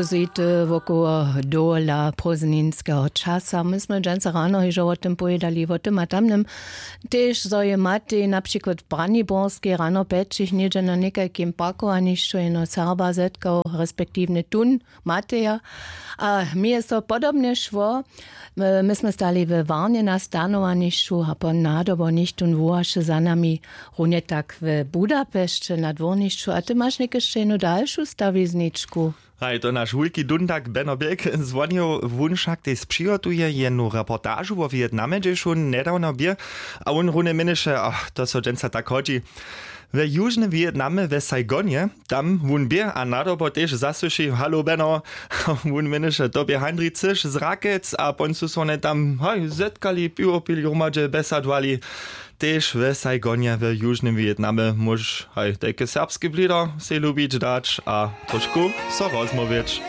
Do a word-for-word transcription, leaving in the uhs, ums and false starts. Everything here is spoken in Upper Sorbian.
Zejty wokoło dola prózdninskeho časa. My smy dźensa rano hižo wo tym powědali, wo tym a tamnym. Tež zo je matej na přikład w braniborskej rano pjećich něhdźe na někajkim parkowanišću jeno serba zetkał, respektiwnje tón mateja. A mi je so podobnje šło. My smy stali we warnje na stanowanišću a po nadobo něchtón wołaše za nami. Runje tak w budapešće na dwórnišću a ty maš někešće jenu dalšu stawizničku. Haj, to naš wulki dundak beno běk zwonił. Wón wšak tež přihotuje jenu reportažu wo wětnamje hdźež wón njedawno bě. A wón runje měnješe, a to so dźensa tak hodźi. We južnym wětnamje we saigonje, tam wón bě a nadobo tež zasłyši halo beno. Wón měnješe to bě handri cyš z rakec a pon su so wone tam haj zetkali, piwo pili hromadźe besadowali. Tež we saigonje we južnym wětnamje móžeš haj tajke serbske blido sej lubić dać a trošku so rozmołwić.